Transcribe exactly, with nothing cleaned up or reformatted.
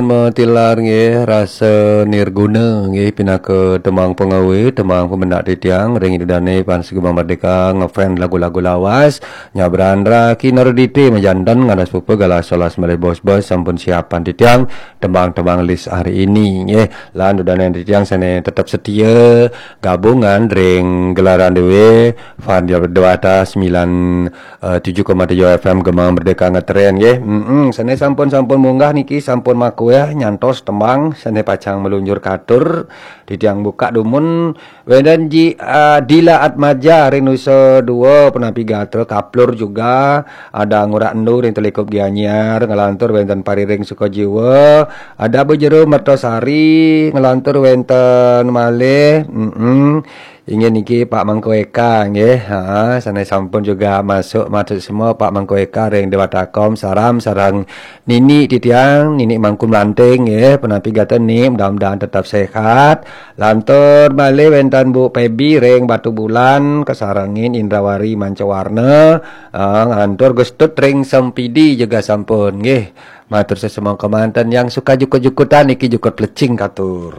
Matilar nggih, rasa nirguna nggih, pinaka tembang pengawa, tembang pemendak titiang ring Ida Dane Pan Segema Merdeka, ngefan lagu-lagu lawas, nyabran ra kinardite majanten, ngadas pupa galah solas malih bos-bos, sampun siapan titiang tembang-tembang list hari ini nggih. Lan Ida Dane titiang sane tetep setia gabungan ring gelaran dewe, Van Dewata sembilan eh, tujuh koma tujuh F M Gema Merdeka ngetren nggih. Mm-mm, sane sampun-sampun munggah niki sampun makueh nyantos tembang sane pacang meluncur katur. Titiang buka dumun wenten Ji, eh, Dila Atmaja ring Nusa Dua, penampi gatra kaplur juga, ada Ngurah Endu ring Telikup Gianyar, ngelantur wenten Pariring Sukajiwa, ada Bejero Mertasari, ngelantur wenten malih, mm-mm, inggih niki Pak Mangku Eka nggih. Ha, sane sampun juga masuk, masuk semua Pak Mangku Eka ring Dewata Kom, saram sareng nini titiang, nini Mangku Melanting nggih, penampi gatra ni, mudah-mudahan tetap sehat. Lantur malih wenten Bu Pebi ring Batu Bulan, kasarengin Indrawari Mancawarna, ha, ngantur Gustut ring Sempidi juga sampun nggih. Matur sesemua kemanten yang suka jukut-jukutan niki jukut plecing katur.